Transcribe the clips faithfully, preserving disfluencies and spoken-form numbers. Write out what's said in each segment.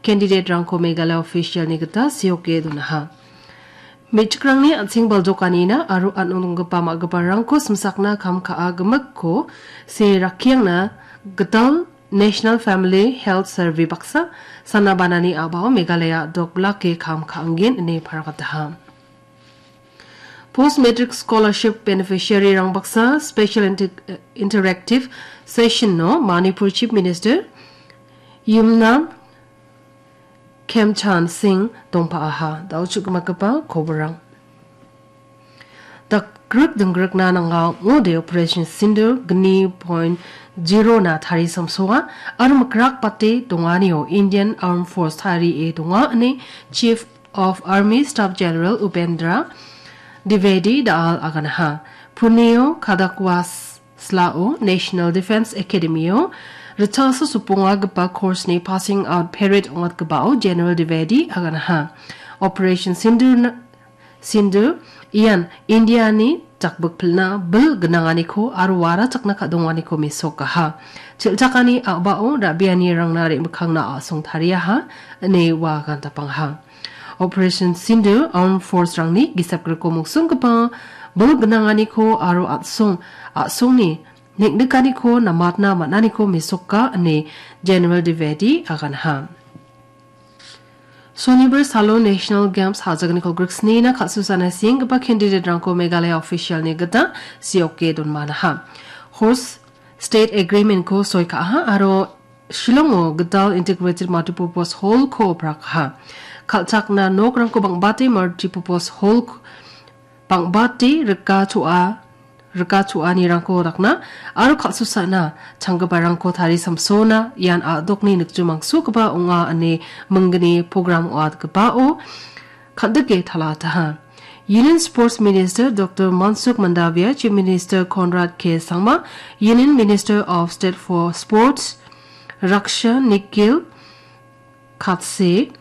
candidate-rangko Meghalaya official-ni gita seoke donaha. Me·chikrangni an·seng baljokanina aro an·ong donggipa ma·giparangko simsakna kam ka·a gimikko se rakkiangna gital National Family Health Survey baksa sana banani a·bao Meghalaya a·dok blake kam ka·angen ine paragataha. Post Matric Scholarship beneficiary-rang baksa special inter-, interactive session-o Manipur Chief Minister Yumnam Khemchand Singh dongpa·aha. Da·o chu·gimagipa koborang. Dakgrik dinggrikna nanga ong·ode Operation Sindoor gni point zero-na tarisamsoa aro mikrak bate donganio Indian Armed Force tarie donga ine Chief of Army Staff General Upendra Dwivedi da·al aganaha. Punio Kadakwas Slao National Defence Academy-o ritchasa sopongagipa course-ni passing out parade ong·atgipao General Dwivedi aganaha. Operation Sindoor-na, Sindoor ian India-ni jakbikpilna bil gnanganiko aro warachakna ka·donganiko mesokaha. Chel·chakani a·bao ra·bianirangna re·mikkangna a·song tariaha, ine ua gantapangaha. Operation Sindoor Armed Force-rangni gisepgriko mongsonggipa bil gnanganiko aro a·song, a·songni neng·nikaniko namatna man·aniko mesoka ine General Dwivedi aganaha. Sonibar salo National Games ha·jagniko griksnina kal·susana sienggipa candidate-rangko Meghalaya official-ni gita seoke donmanaha. Horse State Agreement-ko soi ka·aha aro Shillongo gital Integrated Multipurpose Hall-ko prakaha. Kal·chakna nokrangko bang·bate Multipurpose Hall-ko bang·bate rika choa-, rika choanirangko dakna aro kal·susana changgiparangko tarisamsona ian a·dokni nikjomangsogipa ong·a ine minggni program ong·atgipao kal·dike talataha. Union Sports Minister Doctor Mansukh Mandavia, Chief Minister Conrad K Sangma, Union Minister of State for Sports Raksha Nikhil Khatse,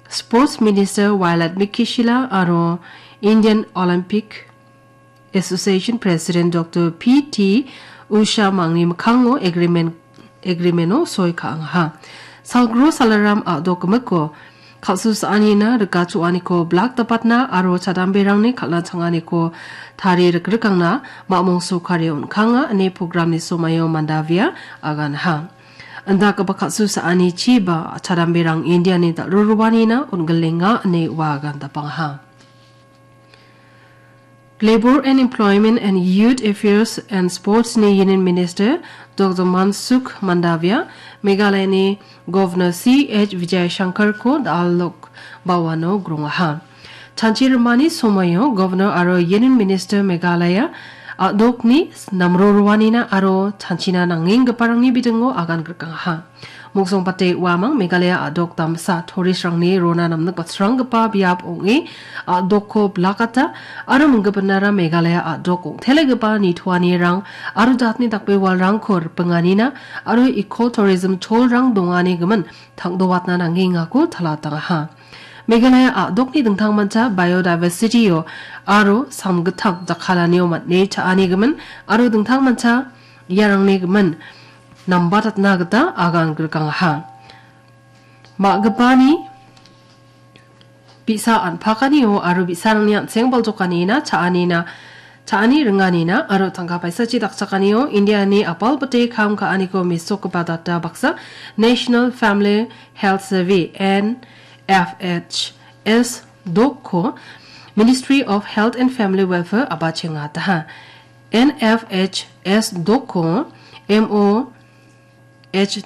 Sports Minister Violet Miki Shylla aro Indian Olympic Association President Doctor P T Usha mangni mikkango agreement, agreement-o soi ka·angaha. Salgro Salaram a·dok gimikko kal·su sa·anina rika choaniko blak dapatna aro chadamberangni kal·na changaniko tari rikrikangna mamong sokari on·kanga ine programni somaio Mandavia aganaha. Indakgipa kal·su sa·ani chiba chadamberang Indiani dal·roroanina on·gilenga ine ua agandapangaha. Labour and Employment and Youth Affairs and Sports-ni Union Minister Doctor Mansukh Mandavia, Meghalayani Governor C H Vijayashankar-ko da·al Lok Bhavan-o grongaha. Chanchi rimani somoio Governor aro Union Minister Meghalaya a·dokni namroroanina aro chanchina nangenggiparangni bidingo agan grikangaha. Mongsongbate uamang Meghalaya a·dok damsa tourist-rangni rona namnikbatsranggipa biap ong·e a·dokko blakata aro minggipinara Meghalaya a·dok ong·telegipa nitoanirang aro jatni dakbewalrangko ripinganina aro eco-tourism cholrang dongani gimin tangdowatna nangengako talatangaha. Meghalaya a·dokni dingtangmancha biodiversity-o aro samgittam jakkalanio man·e cha·anigimin aro dingtangmancha iarangni gimin nambatatna gita agan grikangaha. Ma·gipani bi·sa an·pakanio aro bi·sarangni an·seng baljokanina cha·anina, cha·ani ringanina aro tangka paisachi dakchakanio Indiani apalbite kam ka·aniko mesokgipa data baksa National Family Health Survey, N F H S dokko Ministry of Health and Family Welfare a·bachengataha. N F H S dokko M O H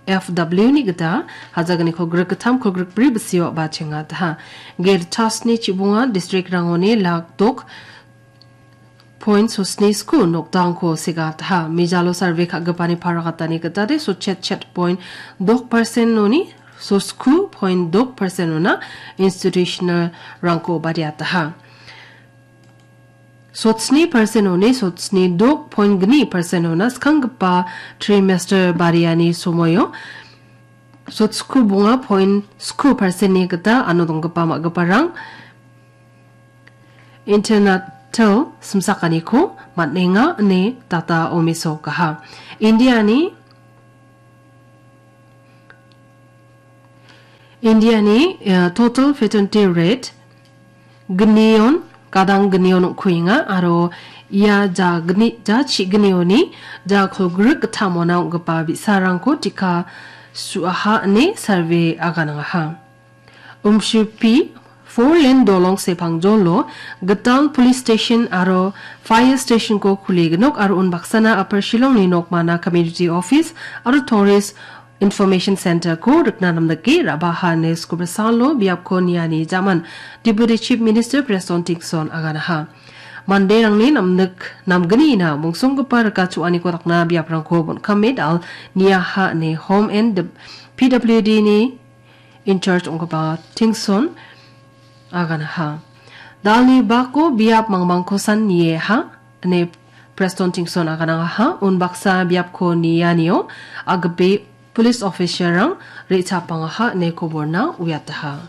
F W-ni gita hajagniko grikgittamko grikbri bisio a·bachengataha. Gate chasni chibonga district-rangoni lak dok point sosni sku nokdangko segataha. Mijalo survey ka·gipani paragatani gitade sotchet chet point dok percent-oni sosku point dok percent-ona institutional-rangko badiataha. Sotsni percent-oni sotsni dok point gni percent-ona skanggipa trimester bariani somoio sotsku bonga point sku percent-ni gita ano donggipa ma·giparang internal simsakaniko man·enga ine data omisokaha. Indiani Indiani, eh, total fatality rate gnion, gadang gnion ong·kuenga aro ia ja gni-, ja chi gnioni ja kolgrik gittamona ong·gipa bi·sarangko tika su·aha ine survey aganangaha. Umshipi four lane dolong sepangjolo gital police station aro fire stationko kuligenok aro unbaksana Upper Shillongni nokmana community office aro tourist information centerko rikna namdake ra·baha ine skubrisalo biapko niani jaman Deputy Chief Minister Prestone Tynsong aganaha. Manderangni namnik namgnina mongsonggipa rika chu·aniko dakna biaprangko bon·kame dal niaha ine Home and P W D ni in charge ong·gipa Tynsong aganaha. Dalni bako biap mangmangkosan nieha ine Prestone Tynsong aganangaha. Unbaksa biapko nianio agbe police officer-rang re·chapangaha ine koborna uiataha.